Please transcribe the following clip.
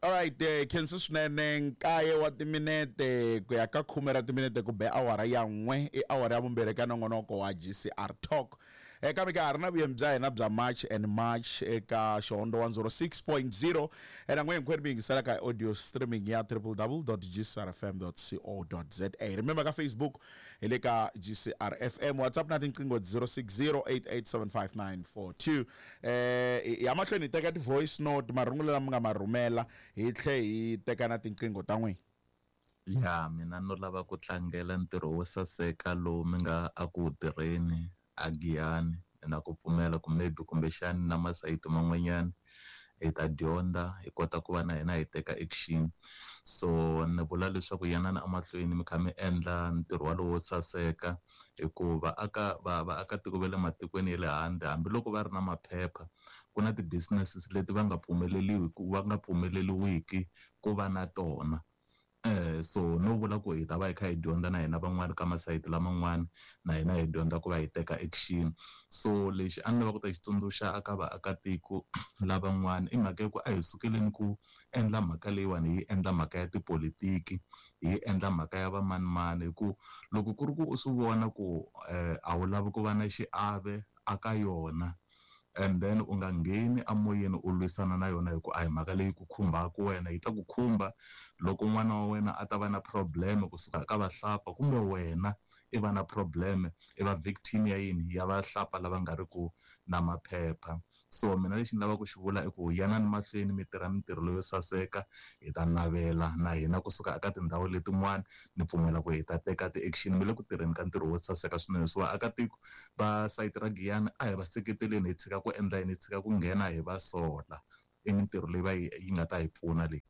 Alright, khensa swinene. Nkaye wa timinete ku ya ka khume ra timinete ku be awara ya n'we, i awara ya vumbirhi ka nongonoko wa GCR Talk. Kambe ka ha ri na vuyemi bya hina bya March and March eka Xihondo 106.0, na n'we hinkwenu mi yingiselaka hi audio streaming ya www.gcrfm.co.za. Remember, ka Facebook hi le ka GCR FM, WhatsApp na tinqingho 0608875942. Ya mahlweni hi teka ti-voice note, marungulo lama nga ma rhumela, hi tlhe hi teka na tinqingho ta n'wina. Ya mina no lava ku tlangela ntirho wo saseka lowu mi nga a ku tirheni a Giyani, na ku pfumela ku maybe kumbexani na masayiti man'wanyana hi ta dyondza, hi kota ku va na hina hi teka action. So ni vula leswaku yanani emahlweni mi kha mi endla ntirho walowo wo saseka, hikuva aka va vaakatiko va le matikweni ya le handle, hambiloko va ri na maphepha, ku na ti-businesses leti va nga pfumeleliwi ku va nga pfumeleliwiki ku va na tona. So no vula ku hi ta va hi kha hi dyondza na hina van'wani ka masayiti laman'wani, na hina hi dyondza ku va hi teka action. So lexi a ni lava ku ta xi tsundzuxa aka vaakatiko lavan'wana i mhaka ya ku a hi sukeleni ku endla mhaka leyiwani, hi endla mhaka ya tipolitiki, hi endla mhaka ya vamanimani, hi ku loko ku ri ku u swi vona ku a wu lavi ku va na xiave aka yona, and then u nga ngheni amoyeni u lwisana na yona, hi ku a hi mhaka leyi ku khumbaka wena. Yi ta ku khumba loko n'wana wa wena a ta va na problem kusuka ka vahlapfa, kumbe wena i va na problem, i va victim ya yini, ya vahlapfa lava nga ri ku na maphepha. So mina lexi ni lavaka ku xi vula i ku yanani mahlweni mi tirha mintirho leyo saseka, hi ta navela na hina kusuka eka tindhawu letin'wana, ni pfumela ku hi ta teka ti-action. Mi le ku tirheni ka ntirho wo saseka swinene. So vaakatiko va sayiti ra Giyani a hi va seketeleni, hi tshika ku endla yini, hi tshika ku nghena hi va sola. I mintirho leyi va yi nga ta hi pfuna leyi.